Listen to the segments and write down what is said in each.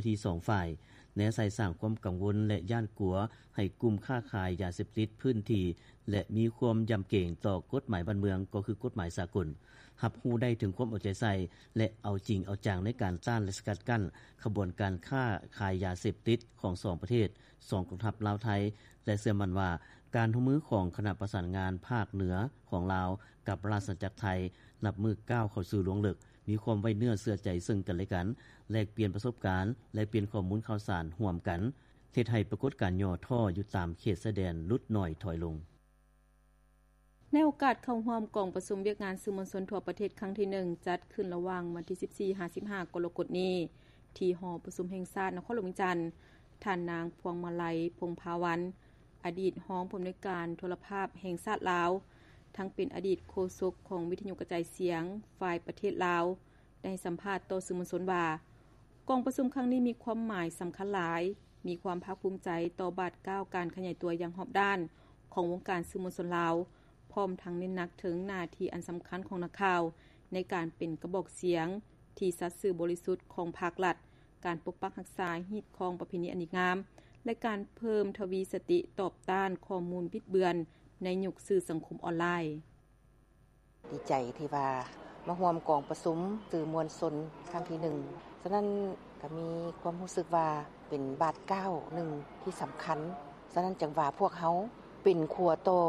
າທີ່ສອງຝ່າຍ ແນໃສ່ສ້າງຄວາມກັງວົນ ແລະ ຢ້ານກົວໃຫ້ກຸ່ມຄ້າຂາຍຢາເສບຕິດພື້ນທີ່ ແລະ ມີຄວາມຢຳເກງຕໍ່ກົດໝາຍບ້ານເມືອງ ກໍຄືກົດໝາຍສາກົນ, ຮັບຮູ້ໄດ້ເຖິງຄວາມເອົາໃຈໃສ່ ແລະ ເອົາຈິງເອົາຈັງໃນການຕ້ານ ແລະ ສະກັດກັ້ນຂະບວນການຄ້າຂາຍຢາເສບຕິດຂອງສອງປະເທດ, ສອງກອງທັບລາວ-ໄທ ແລະ ເຊື່ອໝັ້ນວ່າ ການຮ່ວມມືຂອງຄະນະປະສານງານພາກເໜືອຂອງລາວກັບລາຊະອານາຈັກໄທ ນັບມື້ກ້າວເຂົ້າສູ່ລວງເລິກ, ມີຄວາມໄວ້ເນື້ອເຊື່ອໃຈເຊິ່ງກັນແລະກັນ, ແລກປ່ຽນປະສົບການ, ແລກປ່ຽນຂໍ້ມູນຂ່າວສານຮ່ວມກັນ, ເຮັດໃຫ້ປາກົດການຫຍໍ້ທໍ້ຢູ່ຕາມເຂດຊາຍແດນຫຼຸດໜ້ອຍຖອຍລົງ. ໃນໂອກາດເຂົ້າຮ່ວມກອງປະຊຸມວຽກງານສື່ມວນຊົນທົ່ວປະເທດຄັ້ງທີໜຶ່ງ ຈັດຂຶ້ນລະຫວ່າງວັນທີສິບສີ່ຫາສິບຫ້າກໍລະກົດນີ້ ທີ່ຫໍປະຊຸມແຫ່ງຊາດນະຄອນຫຼວງວຽງຈັນ, ທ່ານນາງ ພວງມາໄລ ພົງພາວັນ ອະດີດຮອງຜູ້ອຳນວຍການໂທລະພາບແຫ່ງຊາດລາວ, ທັງເປັນອະດີດໂຄສົກຂອງວິທະຍຸກະຈາຍສຽງຝ່າຍປະເທດລາວ ໄດ້ໃຫ້ສຳພາດຕໍ່ສື່ມວນຊົນວ່າ ກອງປະຊຸມຄັ້ງນີ້ມີຄວາມໝາຍສຳຄັນຫຼາຍ, ມີຄວາມພາກພູມໃຈຕໍ່ບາດກ້າວການຂະຫຍາຍຕົວຢ່າງຮອບດ້ານຂອງວົງການສື່ມວນຊົນລາວ, ພ້ອມທັງເນັ້ນໜັກເຖິງໜ້າທີ່ອັນສຳຄັນຂອງນັກຂ່າວ ໃນການເປັນກະບອກສຽງທີ່ສັດຊື່ບໍລິສຸດຂອງພາກລັດ, ການປົກປັກຮັກສາຮີດຄອງປະເພນີອັນດີງາມ ແລະ ການເພີ່ມທະວີສະຕິຕອບຕ້ານຂໍ້ມູນບິດເບືອນໃນຍຸກສື່ສັງຄົມອອນລາຍ. ດີໃຈທີ່ວ່າມາຮ່ວມກອງປະຊຸມສື່ມວນຊົນຄັ້ງທີໜຶ່ງ. ສະນັ້ນກໍມີຄວາມຮູ້ສຶກວ່າເປັນບາດກ້າວໜຶ່ງທີ່ສຳຄັນ. ສະນັ້ນຈຶ່ງວ່າພວກເຮົາເປັນຂົວຕໍ່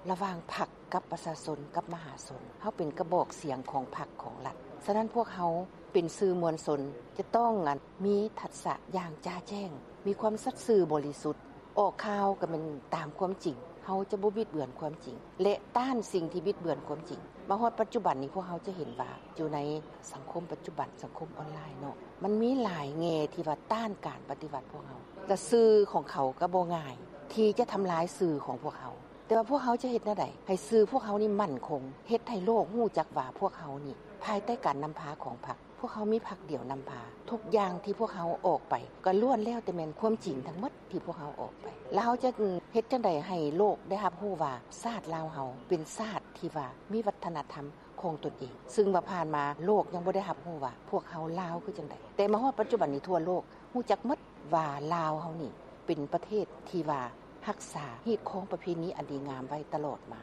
ລະຫວ່າງພັກກັບປະຊາຊົນ ກັບມະຫາຊົນ. ເຮົາເປັນກະບອກສຽງຂອງພັກຂອງລັດ. ສະນັ້ນພວກເຮົາເປັນສື່ມວນຊົນ ຈະຕ້ອງ ອັນ ມີທັດສະຢ່າງຈະແຈ້ງ, ມີຄວາມສັດຊື່ບໍລິສຸດ, ອອກຂ່າວກໍແມ່ນຕາມຄວາມຈິງ, ເຮົາຈະບໍ່ບິດເບືອນຄວາມຈິງ ແລະ ຕ້ານສິ່ງທີ່ບິດເບືອນຄວາມຈິງ. ມາຮອດປັດຈຸບັນນີ້ ພວກເຮົາຈະເຫັນວ່າຢູ່ໃນສັງຄົມປັດຈຸບັນ, ສັງຄົມອອນລາຍເນາະ, ມັນມີຫຼາຍແງ່ທີ່ວ່າຕ້ານການປະຕິວັດພວກເຮົາ. ກະສື່ຂອງເຂົາກໍບໍ່ງ່າຍທີ່ຈະທຳລາຍສື່ຂອງພວກເຮົາ. ແຕ່ວ່າພວກເຮົາຈະເຮັດແນວໃດໃຫ້ສື່ພວກເຮົານີ້ໝັ້ນຄົງ, ເຮັດໃຫ້ໂລກຮູ້ຈັກວ່າພວກເຮົານີ້ພາຍໃຕ້ການນຳພາຂອງພັກ, ພວກເຮົາມີພັກດຽວນຳພາ. ທຸກຢ່າງທີ່ພວກເຮົາອອກໄປກໍລ້ວນແລ້ວແຕ່ແມ່ນຄວາມຈິງທັງໝົດທີ່ພວກເຮົາອອກໄປ. ແລ້ວເຮົາຈະເຮັດຈັ່ງໃດໃຫ້ໂລກໄດ້ຮັບຮູ້ວ່າຊາດລາວເຮົາເປັນຊາດທີ່ວ່າມີວັດທະນະທຳຂອງຕົນເອງ, ຊຶ່ງວ່າຜ່ານມາໂລກຍັງບໍ່ໄດ້ຮັບຮູ້ວ່າພວກເຮົາລາວຄືຈັ່ງໃດ. ແຕ່ມາຮອດປັດຈຸບັນນີ້ທົ່ວໂລກຮູ້ຈັກໝົດວ່າລາວເຮົານີ້ເປັນປະເທດທີ່ວ່າຮັກສາຮີດຄອງປະເພນີອັນດີງາມໄວ້ຕະຫຼອດມາ.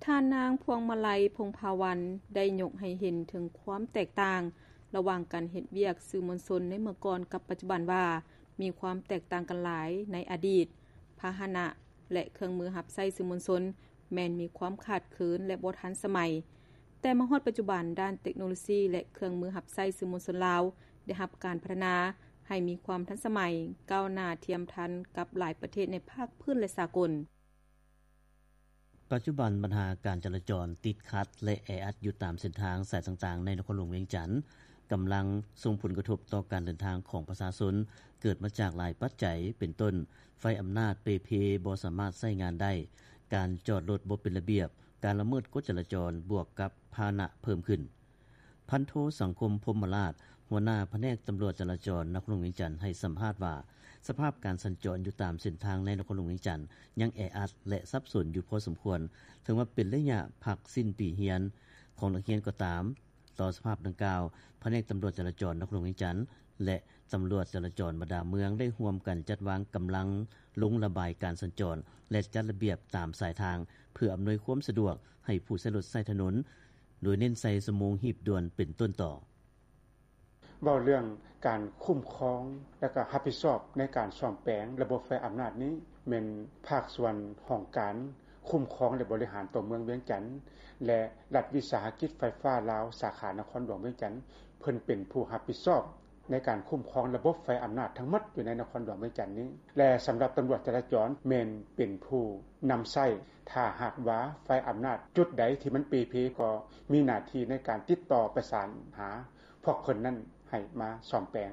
ທ່ານນາງ ພວງມາໄລ ພົງພາວັນ ໄດ້ຍົກໃຫ້ເຫັນເຖິງຄວາມແຕກຕ່າງລະຫວ່າງການເຮັດວຽກສື່ມວນຊົນໃນເມື່ອກ່ອນກັບປັດຈຸບັນວ່າ ມີຄວາມແຕກຕ່າງກັນຫຼາຍໃນອະດີດ, ພາຫະນະ ແລະ ເຄື່ອງມືຮັບໃຊ້ສື່ມວນຊົນ ແມ່ນມີຄວາມຂາດເຂີນ ແລະ ບໍ່ທັນສະໄໝ. ແຕ່ມາຮອດປັດຈຸບັນ, ດ້ານເຕັກໂນໂລຊີ ແລະ ເຄື່ອງມືຮັບໃຊ້ສື່ມວນຊົນລາວ ໄດ້ຮັບການພັດທະນາໃຫ້ມີຄວາມທັນສະໄໝ, ກ້າວໜ້າທຽມທັນກັບຫຼາຍປະເທດໃນພາກພື້ນ ແລະ ສາກົນ. ປັດຈຸບັນບັນຫາການຈະລາຈອນຕິດຂັດ ແລະ ແອອັດຢູ່ຕາມເສັ້ນທາງສາຍຕ່າງໆໃນນະຄອນຫຼວງວຽງຈັນ ກຳລັງສົ່ງຜົນກະທົບຕໍ່ການເດີນທາງຂອງປະຊາຊົນ ເກີດມາຈາກຫຼາຍປັດໄຈ ເປັນຕົ້ນ ໄຟອຳນາດເປ່ເພ ບໍ່ສາມາດໃຊ້ງານໄດ້, ການຈອດລົດບໍ່ເປັນລະບຽບ, ການລະເມີດກົດຈະລາຈອນ ບວກກັບພາຫະນະເພີ່ມຂຶ້ນ. ພັນໂທ ສັງຄົມ ພົມມະລາດ ຫົວໜ້າພະແນກຕຳຫຼວດຈະລາຈອນນະຄອນຫຼວງວຽງຈັນ ໃຫ້ສຳພາດວ່າ ສະພາບການສັນຈອນຢູ່ຕາມເສັ້ນທາງໃນນະຄອນຫຼວງວຽງຈັນ ຍັງແອອັດ ແລະ ສັບສົນຢູ່ພໍສົມຄວນ, ເຖິງວ່າເປັນໄລຍະພັກສິ້ນປີຮຽນຂອງນັກຮຽນກໍຕາມ. ຕໍ່ສະພາບດັ່ງກ່າວ, ພະແນກຕຳຫຼວດຈະລາຈອນນະຄອນຫຼວງວຽງຈັນ ແລະ ຕຳຫຼວດຈະລາຈອນບັນດາເມືອງ ໄດ້ຮ່ວມກັນຈັດວາງກຳລັງລົງລະບາຍການສັນຈອນ ແລະ ຈັດລະບຽບຕາມສາຍທາງ ເພື່ອອຳນວຍຄວາມສະດວກໃຫ້ຜູ້ໃຊ້ລົດໃຊ້ຖະໜົນ, ໂດຍເນັ້ນໃສ່ຊົ່ວໂມງຮີບດ່ວນເປັນຕົ້ນຕໍ. ເວົ້າເລື່ອງການຄຸ້ມຄອງ ແລະ ກໍຮັບຜິດຊອບໃນການສ້ອມແປງລະບົບໄຟອຳນາດນີ້ ແມ່ນພາກສ່ວນຫ້ອງການຄຸ້ມຄອງ ແລະ ບໍລິຫານຕົວເມືອງວຽງຈັນ ແລະ ລັດວິສາຫະກິດໄຟຟ້າລາວ ສາຂານະຄອນຫຼວງວຽງຈັນ ເພິ່ນເປັນຜູ້ຮັບຜິດຊອບໃນການຄຸ້ມຄອງລະບົບໄຟອຳນາດທັງໝົດຢູ່ໃນນະຄອນຫຼວງວຽງຈັນນີ້ ແລະ ສຳລັບຕຳຫຼວດຈະລາຈອນແມ່ນເປັນຜູ້ນຳໃຊ້. ຖ້າຫາກວ່າໄຟອຳນາດຈຸດໃດທີ່ມັນເປ່ເພ ກໍມີໜ້າທີ່ໃນການຕິດຕໍ່ປະສານຫາ ພວກເພິ່ນນັ້ນໃຫ້ມາສ້ອມແປງ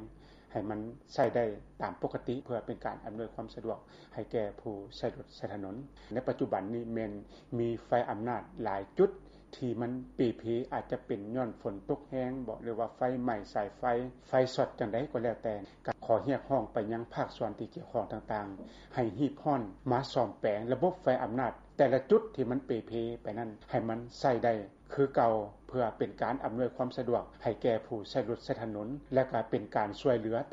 ໃຫ້ມັນໃຊ້ໄດ້ຕາມປົກກະຕິ ເພື່ອເປັນການອຳນວຍຄວາມສະດວກໃຫ້ແກ່ຜູ້ໃຊ້ລົດໃຊ້ຖະໜົນ. ໃນປັດຈຸບັນນີ້ແມ່ນມີໄຟອຳນາດຫຼາຍຈຸດທີ່ມັນເປ່ເພ ອາດຈະເປັນຍ້ອນຝົນຕົກແຮງບໍ ຫຼືວ່າໄຟໄໝ້ສາຍໄຟ, ໄຟຊັອດຈັ່ງໃດກໍແລ້ວແຕ່, ກໍຂໍຮຽກຮ້ອງໄປຍັງພາກສ່ວນທີ່ກ່ຽວຂ້ອງຕ່າງໆ ໃຫ້ຮີບຮ້ອນມາສ້ອມແປງລະບົບໄຟອຳນາດ ແຕ່ລະຈຸດທີ່ມັນເປ່ເພໄປນັ້ນ ໃຫ້ມັນໃຊ້ໄດ້ ຄືເກົ່າ ເພື່ອເປັນການອຳນວຍຄວາມສະດວກ ໃຫ້ແກ່ຜູ້ໃຊ້ລົດໃຊ້ຖະໜົນ ແລະ ກໍເປັນການຊ່ວຍເຫຼືອ